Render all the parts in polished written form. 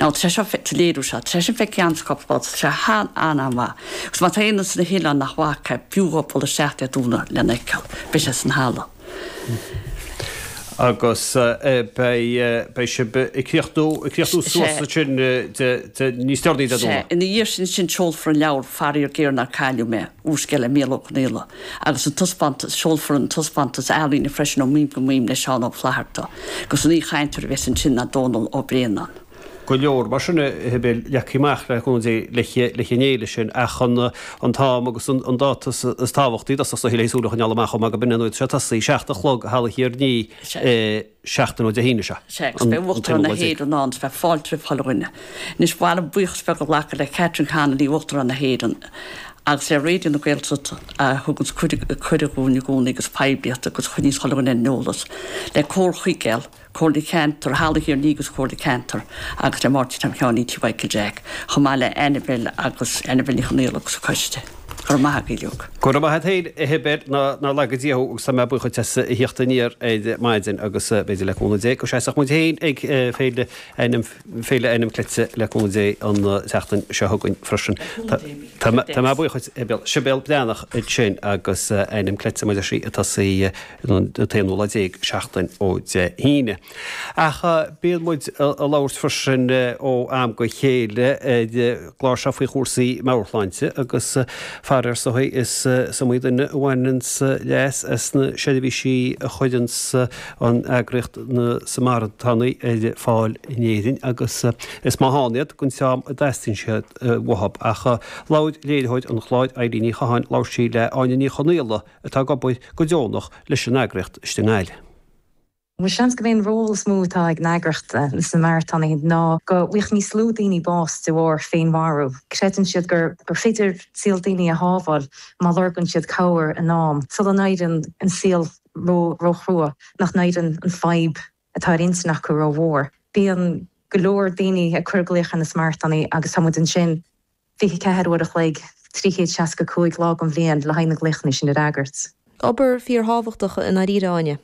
Now tá sé seo, sa léiriú seo, tá sé sin feicthe a'msa cúpla babhta, tá sé an-an-mhaith. Agus má tá éinne sna hoileáin nach bhfaca, b'fhiú dhóibh dul isteach Dé Domhnaigh lena fheiceáil. Beidh sé san halla. Agus beidh sibh ag críochnú, ag críochnú suas ansin níos deireanaí Dé Domhnaigh. Sea. Ina dhiaidh sin ansin seolfar an leabhar Faraor Géar Nár Cailleadh Mé, úrscéal le Mícheál Ó Conghaile, agus an taispeántas, seolfar an taispeántas ealaíne freisin Ó Mhaoim go Maoim le Seán Ó Flatharta, agus an aoichainteoir a bheas ansin ná Dónal Ó Braonáin. go leor mar sin a Shibéal leagtha amach le cúnamh Dé leis an fhéile sin ach an t-am agus an dáta is tábhachtaí i dtosach is dóichí le súil a choinneáil amach chomh maith gurb in nuair atá sé ag tosaí, 7 a chlog i Halla Thír an Fhia seachtain ó Dé hAoine seo. Sea, agus beidh Uachtarán na hÉireann ann, is beidh fáilte roimh chuile dhuine. Anois, ba mhaith liom buíochas beag a ghlacadh le Catherine Connolly, Uachtarán na hÉireann, agus le Raidió na Gaeltachta a thuganns cuireadh dhúinn i gcónaí agus poiblíocht agus a choinníos chuile dhuine ar an eolas, le Comhar Chuigéal, Comhairle Ceantair Halla Thír an Fhia agus Comhairle Ceantair agus le Máirtín Tom Sheáinín Tí Mhichael Jack, chomh maith le Annabel agus Annabel Ní Chonaola agus a coiste. Go raibh maith agaibh uilig. Go raibh maith a't féin, a Shibéal, nár laga Dia thú agus tá mé buíoch dhuit as a thíocht aniar ar maidin agus b'fhéidir le cúnamh Dé go seasfadh muid féin ag Féile Ainm Féile Ainm Cleite le cúnamh Dé an tseachtain seo chugainn freisin. Tá mé buíoch dhuit, a Shibéal. Sibéal Breathnach ansin agus Ainm Cleite mar a deir sí ag tosaí an t-aonú lá déag seachtain ó Dé hAoine. Ach bíonn muid ag labhairt freisin ó am go chéile ar an gclár seo faoi chúrsaí meabhairshláinte agus faraor is dóigh is iomaí duine a bhaineanns leas as na seirbhísí a chuireanns an eagraíocht na Samarantánaigh ar fáil in Éirinn agus is maith ann iad don dream a dteastaíonn siad uathu. Ach labhair léiritheoir an chláir Eileen Ní Chatháin, labhair sí le Áine Ní Chonaola, atá ag obair go deonach leis an eagraíocht istigh i nGaillimh. Bhuel, seans gurb é an ról is mó atá ag an eagraíocht, na Samarantánaigh, ná go bhfaigheadh níos lú daoine bás de bharr féinmharú. Creideann siad gur féidir saol daoine a shábháil má lorgann siad cabhair in am, sula n-éiríonn an saol ró-chrua, nach n-éiríonn an fadhb atá ar intinn acu rómhór. Bíonn go leor daoine ag cur glaoch ar na Samarantánaigh agus tá muid ansin 24 uair a chloig, 365 lá den bhliain le haghaidh na glaochanna sin a fhreagairt. Obair fíorthábhachtach i ndáiríre, Áine.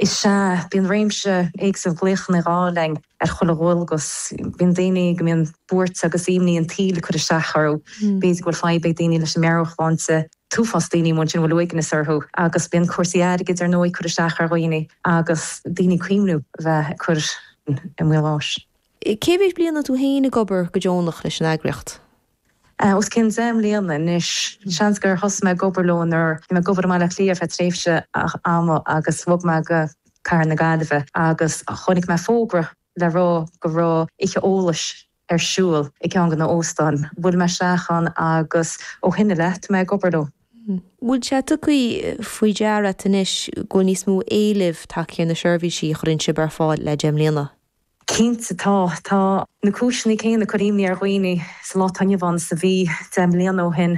Is ea, bíonn réimse éagsúil glaochanna ag gabháil linn ar chuile dhualgas. Bíonn daoine go mbíonn buairt agus imní an tsaoil ag cur isteach orthu. B'fhéidir go bhfuil fadhb ag daoine leis an meabhairshláinte, t-uafás daoine amuigh ansin a bhfuil uaigneas orthu agus bíonn cúrsaí airgid ar ndóigh ag cur isteach ar dhaoine agus daoine ag cuimhniú a bheith ag cur i mbaol bháis. Cé mhéad bliain atá tú féin ag obair go deonach leis an eagraíocht? Os cionn 10 mbliana anois. Seans gur thosaigh mé ag obair leo nuair bhí mé ag obair i mBaile Átha Cliath ar feadh tréimhse ama agus bhog mé go cathair na Gaillimhe agus chonaic mé fógra le rá go raibh oíche eolais ar siúl i gceann de na óstáin. Bhuail mé isteach ann agus ó shin i leith tá mé ag obair leo. Bhfuil sé tugtha faoi deara agat anois go bhfuil níos mó éilimh tagtha ar na seirbhísí a chuireann sibh ar fáil le 10 mbliana? Cinnte tá. Tá na cúiseanna céanna ag cur imní ar dhaoine sa lá atá inniu ann is a bhí 10 mbliana ó shin.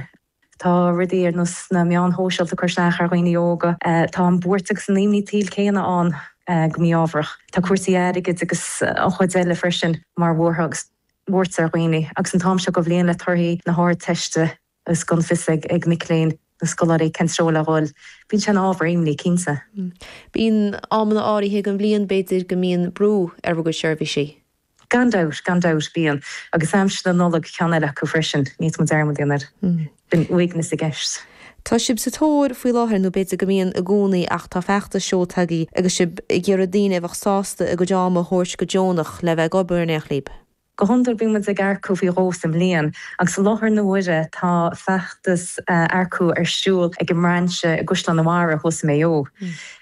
Tá rudaí ar nós na meáin shóisialta ag cur isteach ar dhaoine óga. Tá an bhuairt agus an imní tsaoil céanna ann go mí-ámharach. Tá cúrsaí airgid agus an chuid eile freisin mar bhuartha agus buairt ar dhaoine. Agus an t-am seo de bhliain le torthaí na hArdteiste agus gan fios ag mic léinn nó scoláirí cén treo le dhul. Bíonn sé ina ábhar imní, cinnte. Bíonn amanna áirithe den bhliain, b'fhéidir, go mbíonn brú ar bhur gcuid seirbhísí. Gan dabht, gan dabht, bíonn. Agus aimsir na Nollag ceann eile acu freisin, ní fhéadfaidh muid dearmad a dhéanamh air. Bíonn uaigneas i gceist. Tá sibh sa tóir faoi láthair, nó b'fhéidir go mbíonn i gcónaí, ach tá feachtas seolta agaibh agus sibh ag iarraidh daoine a bheadh sásta a gcuid ama a thabhairt go deonach le bheith ag obair in éineacht libh. Go hiondúil bíonn muid ag earcú faoi dhó sa mbliain agus i láthair na huaire tá feachtas earcú ar siúl ag an mbrainse i gCaisleán an Bharraigh thuas i Maigh Eo.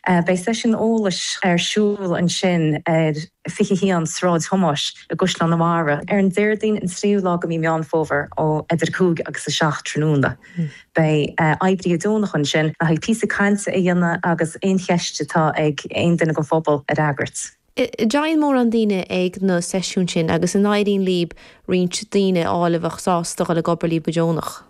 Beidh seisiún eolais ar siúl ansin ar 21 Sráid Thomáis i gCaisleán an Bharraigh ar an Déardaoin an 3ú lá de mhí Meán Fómhair ó idir 5 agus 7 tráthnóna. Beidh oibrithe deonacha ansin le haghaidh píosa cainte a dhéanamh agus aon cheist atá ag aon duine den phobal a fhreagairt. An dtéann mórán daoine ag na seisiúin sin agus an éiríonn libh roinnt daoine a fháil a bheadh sásta dhul ag obair libh go deonach?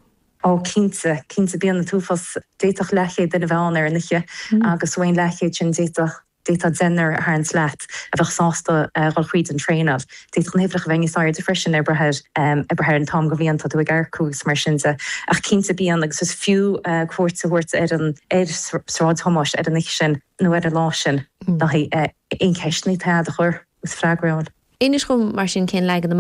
Ó cinnte, cinnte bíonn an t-uafás, d'fhéadfadh leathchéad duine a bheith ann ar an oíche agus uain leathchéad sin d'fhéadfadh, d'fhéadfá deichniúr a tharraingt leat a bheadh sásta dhul thríd an traenáil. D'fhéadfadh na huimhreacha a bheith níos airde freisin ag brath ar, ag brath ar an t-am den bhliain atá tú ag earcú agus mar sin de. Ach cinnte bíonn agus is fiú cuairt a thabhairt ar an, ar Sráid Thomáis ar an oíche sin. nó ar an lá sin le haghaidh aon cheisteanna atá agat a chur agus freagra a fháil. Inis dhom mar sin cén leagan amach.